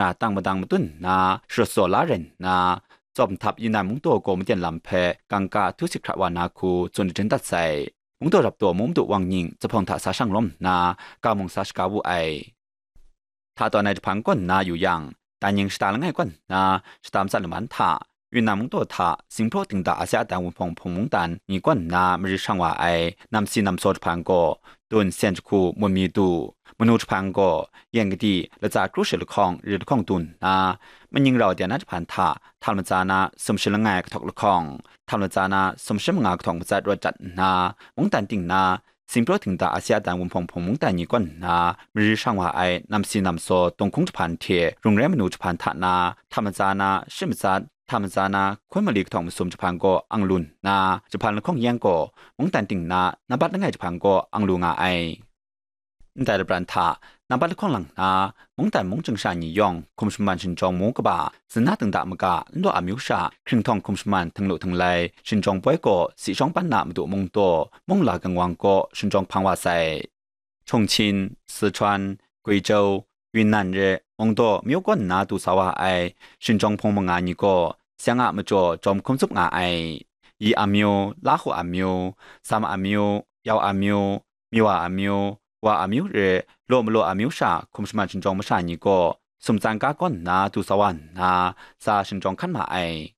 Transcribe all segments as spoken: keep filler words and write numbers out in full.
ra tang madang madun nna, sharawt saw la rai nna, tsawm htap Yunnan mungdaw gaw maten lam hpe kangka htu sit hkrat wa na hku tsun jaden dat sai. Mungdaw rap taw mung madu wang nying zuphpawng hta sa shang lawm nna, ga mung sa shaga wu ai. Hta tawn ai jahpan kaw nna yu yang, Danying shata langai kaw nna shata matsat laman hta, Yunnan mungdaw hta Singpraw Dingda Asia dan Wunpawng Hpung mungdan ni kaw nna mari shang wa ai namsi namsaw jahpan gaw, dun sen jahku mun mi du, manu jahpan gaw, yen kadi latsa kru shi lahkawng ri lahkawng du nna, maning rau de na jahpan hta, hta latsa na sumshi langai kahtawk lahkawng, hta latsa na sumshi manga kahtawk matsat rawt dat nna, mungdan ting na, Singpraw Dingda Asia dan Wunpawng Hpung mungdan ni kaw nna mari shang wa ai namsi namsaw dunghkung jahpan hte rung rai manu jahpan hta na, hta latsa na shi matsat, hta latsa na hkun mali kahtawk masum jahpan gaw ang lu nna, jahpan lahkawng yang gaw mungdan ting na nambat langai jahpan gaw ang lu nga ai. Ndai lapran hta nambat lahkawng lang nna, mungdan mung chying sha ni yawng hkum shaman shinjawng mu kaba, zin na dingda maga, nlaw amyu sha hkringhtawng hkum shaman htinglu htinglai shinjawng poi gaw, si shawng pan na madu mungdaw, mung la kangwang gaw shinjawng hpang wa sai. Chongqing, Sichuan, Guizhou, Yunnan re mungdaw myu kaw nna du sa wa ai shinjawng hpung manga ni gaw, seng a majaw jawm hkum tsup nga ai. Yi amyu, Lahu amyu, Sam amyu, Yau amyu, Miwa amyu, Wa amyu re law malaw amyu sha hkum shaman shinjawng masha ni gaw, sumtsan ga kaw nna du sa wa nna, sa shinjawng hkan ma ai.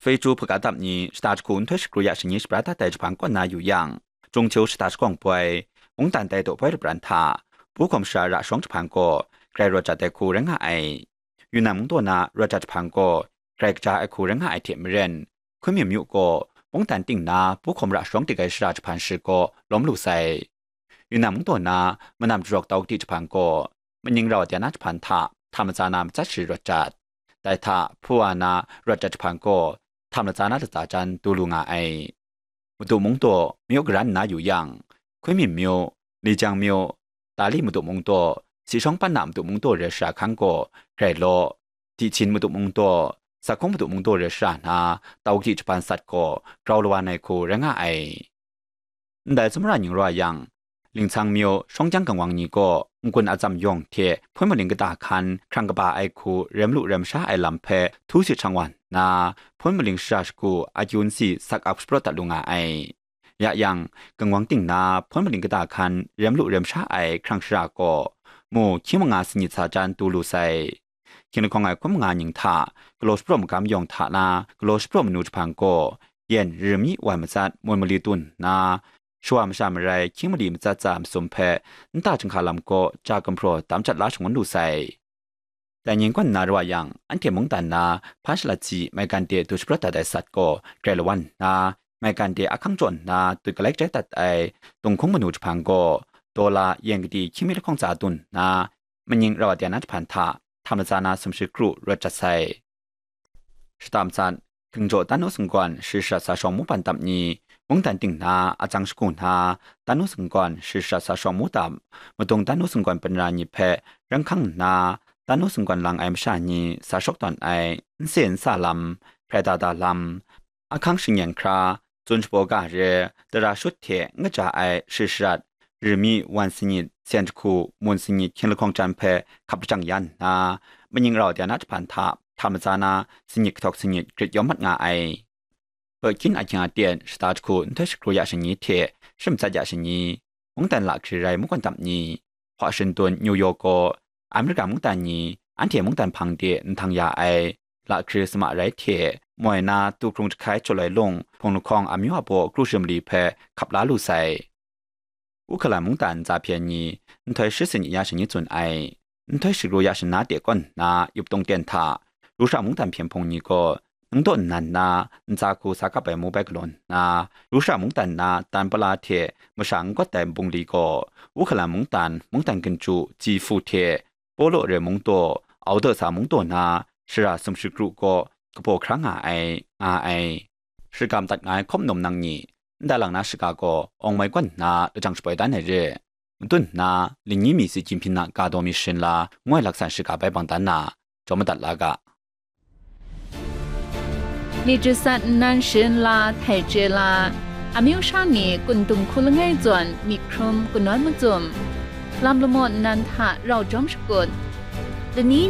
Feichu hpaga dap ni shata jahku nhtoi shakru ya shanyi shabra dat ai jahpan kaw nna yu yang, Jungcheu shata shagawng poi, mungdan tai daw poi lapran hta, pu hkawm shara ra shawng jahpan gaw, grai rawt jat ai hku rai nga ai. Yunnan mungdaw na rawt jat jahpan gaw, grai kaja ai hku rai nga ai hte maren, hkun mi myu gaw, mungdan ting na pu hkawm ra shawng dik ai shara jahpan shi gaw lawm lu sai. Yunnan mungdaw na manam jarawk tau kadi jahpan gaw, maning rau de na jahpan hta, hta latsa na matsat shi rawt jat. Dai hta, hpu wa na rawt jat jahpan gaw, hta latsa na latsa jan du lu nga ai. Madu mungdaw, myu garan nna yu yang, Hkun Min myu, Lijang myu, Tali madu mungdaw, si shawng pan na madu mungdaw re shara hkan gaw, grai law, Dihchin madu mungdaw, Sakhung madu mungdaw re shara na, tau kadi jahpan sat gaw, grau lawan ai hku rai nga ai. Ndai tsawmra ning raw yang, Lingcang myu shawng jang kangwang ni gaw, n-gun atsam yawng hte hpun maling kata hkan hkrang kaba ai hku rem lu rem sha ai lam hpe htu sit shang wa nna, hpun maling shara shagu akyu nsi sak ap shapraw dat lu nga ai. Ya yang, kangwang ting na hpun maling kata hkan rem lu rem sha ai hkrang shara gaw, mu hkying manga sanit sa jan du lu sai. Hkying lahkawng ai hkun manga ning hta, galaw shapraw magam yawng hta na, galaw shapraw manu jahpan gaw, yen rimi wan matsat mun mali tun nna, shawa masha marai hkying mali matsat tsa masum hpe nta chyinghka lam gaw ja gumhpraw tam jat la shangun lu sai. Dai ning kaw nna rawa yang, anhte mungdan na hpa shalat si maigan de du shapraw dat ai sat gaw grai lawan nna, maigan de ahkang jaw nna dut galai jai dat ai dunghkung manu jahpan gaw, dawla yen kadi hkying mi lahkawng tsa dun nna, maning rau de na jahpan hta, hta latsa na sumshi kru rawt jat sai. Shata matsat, hkingjaw tanu sunggawn shi shara sa shawng mu pan dap ni, mungdan ting na atsang shagu na, tanu sunggawn shi shara sa shawng mu dap, madung tanu sunggawn panra ni hpe ran hkang nna, tanu sunggawn lang ai masha ni sa shawk tawn ai, n se n sa lam, hprai da da lam, ahkang shingyen hkra, tsun shabaw ga re, tara shut hte n kaja ai shi sharat, rimi wan sanit, sen jahku, mun sanit hkying lahkawng jan hpe hkap lajang ya nna, maning rau de na jahpan hta, hta latsa na sanit kahtawk sanit grit yawm mat nga ai. Pekin ahkying aten shata jahku nhtoi shakru ya shanyi hte shi matsat ya shanyi, mungdan lahkri rai mungkan dap ni, Washington, New York gaw, Amerika mungdan ni anhte mungdan hpang de nhtang ya ai lahkri sama rai hte, moi na tu hkrung jahkai jaw ai lung hpung lahkawng amyu a baw kru shi mali hpe hkap la lu sai. Uhkalan mungdan ntsa hpyen ni nhtoi shi sanit ya shanyi tsun ai. Nhtoi shakru ya shana de kaw nna yup tungten hta, Rusha mungdan hpyen hpung ni gaw, ningdaw nnan na ntsa hku sa kap ai mu bai galaw nna, Rusha mungdan na tan pala hte masha n gawt ai bungli gaw, Uhkalan mungdan, mungdan ginju, Jifu hte, Polo re mungdaw, Audasa mungdaw na shara sumshi kru gaw kabaw hkra nga ai, nga ai. Shagam dat nga ai hkawm nawm nang ni, nda lang na shaga gaw awng mai gawn nna lajang shaboi dan ai re. Madun nna, lingyi mi si Jinhping a ga daw mi sharin la, ngoi laksan shaga bai bang dan na, jaw madat la ga. Myit jasat nnan sharin la, htai chye la, amyu sha ni kun dung hku langai zawn myit hkrum kanawn macum, lam lamaw nnan hta rau jawm shakut, lani